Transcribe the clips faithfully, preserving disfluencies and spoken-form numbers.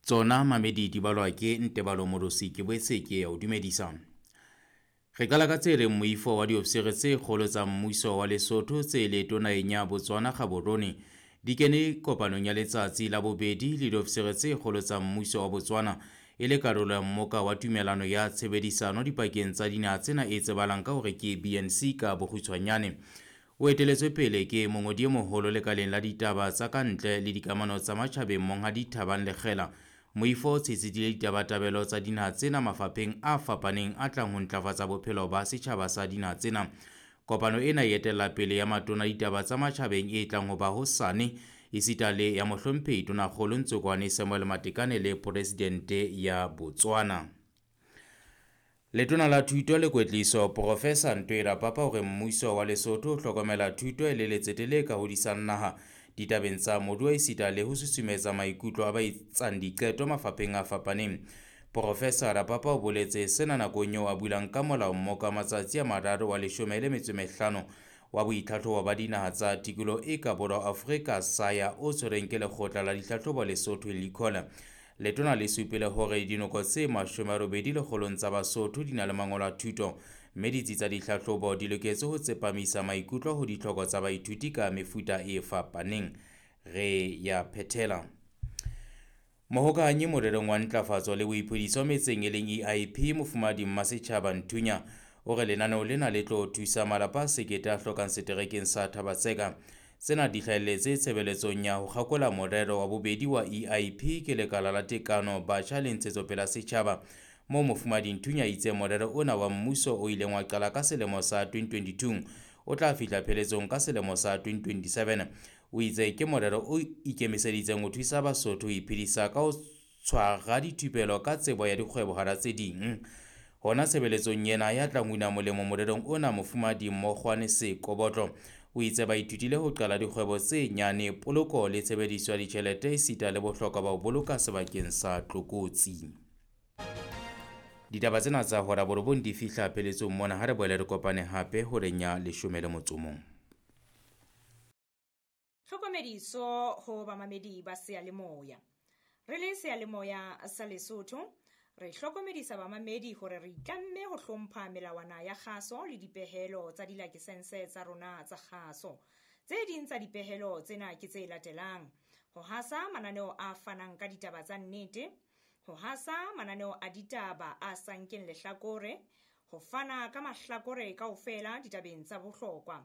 Tsona mamedi di balwa ke Ntebalo Morosi, ke boetse ke ya o dumedisa. Re qala ka tse reng moifo wa diofisiri tse kgolo tsa mmuso wa Lesotho tse leeto naheng ya Botswana Gaborone di kene kopanong ya letsatsi la bobedi le diofisiri tse kgolo tsa mmuso wa Botswana e le karolo ya mmoka wa tumelano ya tshebedisano dipakeng tsa dinaha tsena e tsebalang ka hore ke B N C ka bokgutshwanyane. O eteletswe pele ke mongodi e moholo lekaleng la ditaba tsa ka ntle le dikamano tsa matjhabeng Monghadi Thabang Lekgela. Moifo o tshetshedile ditabatabelo tsa dinaha tsena mafapheng a fapaneng a tlang ho ntlafatsa bophelo ba setjhaba sa dinaha tsena. Kopano ena e etella pele ya matona ditaba tsa matjhabeng e tlang ho ba hosane esita le ya mohlomphehi Tonakgolo Ntsokoane Samuel Matekane le Presidente ya Botswana. Letona la Thuto le Kwetliso Professor Ntwe Rapapa hore mmuso wa Lesotho o hlokomela thuto e le letsete le ka hodisang naha ditabeng tsa moruo esita le ho susumetsa maikutlo a ba etsang diqeto mafapheng a fapaneng. Professor Rapapa o boletse sena nakong eo a bulang ka molao mmoka wa matsatsi a mararo wa leshome le metso e mehlano wa boitlhatlhobo ba dinaha tsa tikoloho e ka borwa Afrika SAYA o tshwereng ke lekgotla la ditlhatlhobo Lesotho Likhola. Letona le supile hore dinoko tse mashome a robedi lekgolong tsa Basotho di na le mangolo a thuto, mme ditsi tsa ditlhatlhobo di loketse ho tsepamisa maikutlo ho ditlhoko tsa baithuti ka mefuta e fapaneng. Re ya phethela. Mohokahanyi morerong wa ntlafatso le boiphediso metseng e leng E I P Mofumahadi Mmasetjhaba Nthunya o re lenaneo lena le tlo thusa malapa a sekete a hlokang seterekeng sa Thaba-Tseka. Tsena di hlahelletse tshebeletsong ya ho kgakola morero wa bobedi wa E I P ke lekala la tekano batjha le ntshetsopele ya setjhaba, moo Mofumahadi Nthunya a itseng morero ona wa mmuso o ileng wa qala ka selemo sa twenty twenty-two o tla fihla pheletsong ka selemo sa twenty twenty-seven. O itse ke morero o ikemiseditseng ho thusa Basotho ho iphedisa ka ho tshwara dithupelo ka tsebo ya dikgwebo hara tse ding. Hona tshebeletsong ena ya tlang una molemo morerong ona, Mofumahadi Mokgwane Sekobotlo o itse ba ithutile ho qala dikgwebo tse nyane, poloko le tshebediso ya ditjhelete esita le bohlokwa ba ho boloka sebakeng sa tlokotsi. Ditaba tsena tsa hora borobong di fihla pheletsong mona, ha re boele re kopane hape horeng ya leshome le motso o mong. Tlhokomediso ho bamamedi ba seyalemoya. Re le seyalemoya sa Lesotho, re hlokomedisa bamamedi hore re itlamme ho hlompha melawana ya kgaso le dipehelo tsa dilakesense tsa rona tsa kgaso. Tse ding tsa dipehelo tsena ke tse latelang: ho hasa mananeo a fanang ka ditaba tsa nnete, ho hasa mananeo a ditaba a sa nkeng lehlakore, ho fana ka mahlakore kaofela ditabeng tsa bohlokwa,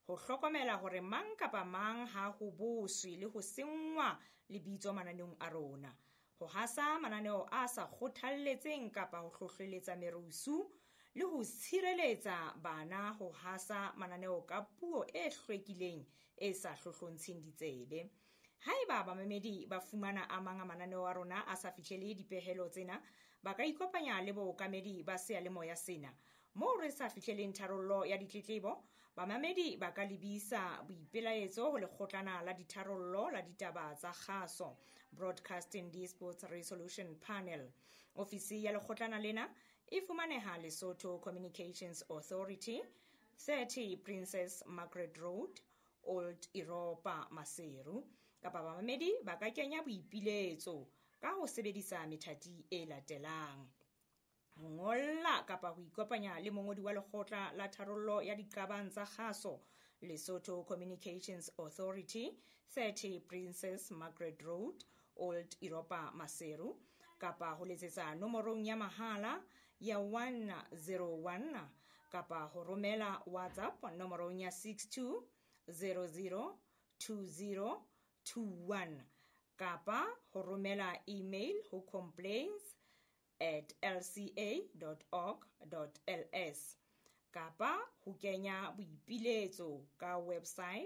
ho hlokomela hore mang kapa mang ha ho boswe le ho senngwa lebitso mananeong a rona, ho hasa mananeo a sa kgothalletseng kapa ho hlohleletsa merusu, le ho tshireletsa bana ho hasa mananeo ka puo e hlwekileng e sa hlohlontsheng ditsebe. Haeba bamamedi ba fumana a mang a mananeo a rona a sa fihlele dipehelo tsena, ba ka ikopanya le bookamedi ba seyalemoya sena. Moo re sa fihleleng tharollo ya ditletlebo, bamamedi ba ka lebisa boipelaetso ho lekgotlana la ditharollo la ditaba tsa kgaso, Broadcasting Disputes Resolution Panel. Ofisi ya lekgotlana lena e fumaneha Lesotho Communications Authority, thirty Princess Margaret Road, Old Europa, Maseru. Kapa bamamedi ba ka kenya boipiletso ka ho sebedisa methati e latelang: ho ngolla kapa ho ikopanya le mongodi wa lekgotla la tharollo ya diqabang tsa kgaso, Lesotho Communications Authority, thirty Princess Margaret Road, Old Europa, Maseru, kapa ho letsetsa nomorong ya mahala ya one zero one kapa ho romela WhatsApp nomorong ya six two zero zero two zero two one kapa ho romela email ho complaints at l c a dot org dot l s kapa ho kenya boipiletso ka website